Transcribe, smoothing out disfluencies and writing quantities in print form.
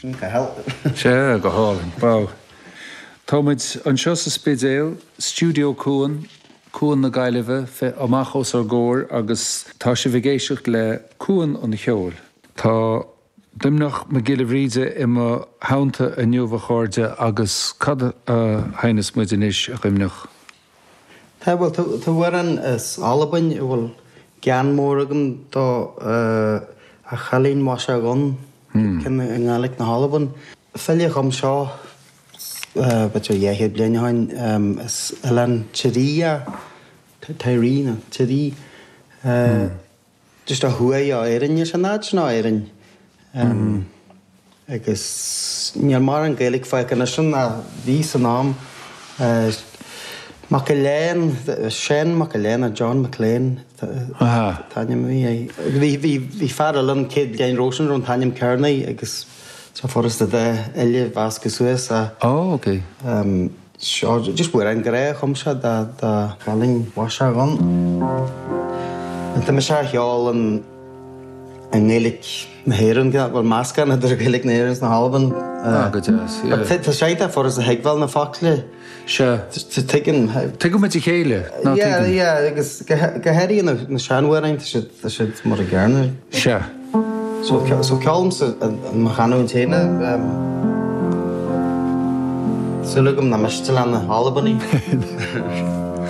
Sin Cathal. Sea, go hálainn. Wow. Tá muid anseo sa Spidéal, Stiúideo Cuan, Cuan na Gaillimhe, amach os ár gcomhair agus tá sibh ag éisteacht le Cuan an Cheoil. Tá Doimnic Mac Giolla Bhríde i mo theannta inniu, a chairde, agus cad a sheinneas muid anois, a Dhoimnic? Tá, bhuel, tá amhrán as Albain a bhfuil gean mór agam dó, A Chailín Mhaise Dhonn, ceann i nGàidhlig na hAlban. File a chum seo, b'fhéidir 200 bliain ó shin, as oileán Tiree, Tiree nó Tiree. Just ó thuaidh ó Éirinn, níl sé in áit sin ó Éirinn. Agus níl mórán Gaeilge fágtha anois ann ach bhí san am. Mac Aléin, Seán Mac Aléin nó John MacLean an t-ainm a bhí air. Bhí, bhí, bhí fear eile ann 100 bliain roimhe sin a raibh an t-ainm céanna air agus tá furasta dá uile a mheascadh suas ach. Oh, ok. Seo just amhrán grá a chum sé do chailín mhaise dhonn. Tá mise á cheol i nGaeilge na hÉireann, bhuel meascán idir Gaeilge na hÉireann is na hAlban. Ah, go deas, yeah. Tá sé iontach furasta a thuigbheáil na focla. Sea. Tuigeann. Tuigeann muid a chéile, ná tuigeann? Yeah, yeah, agus go háirithe na seanamhráin, tá siad mar a gcéanna. Sea. So ceolaimse i mo chanúint féin é. Súil agam nach miste le na hAlbanaigh.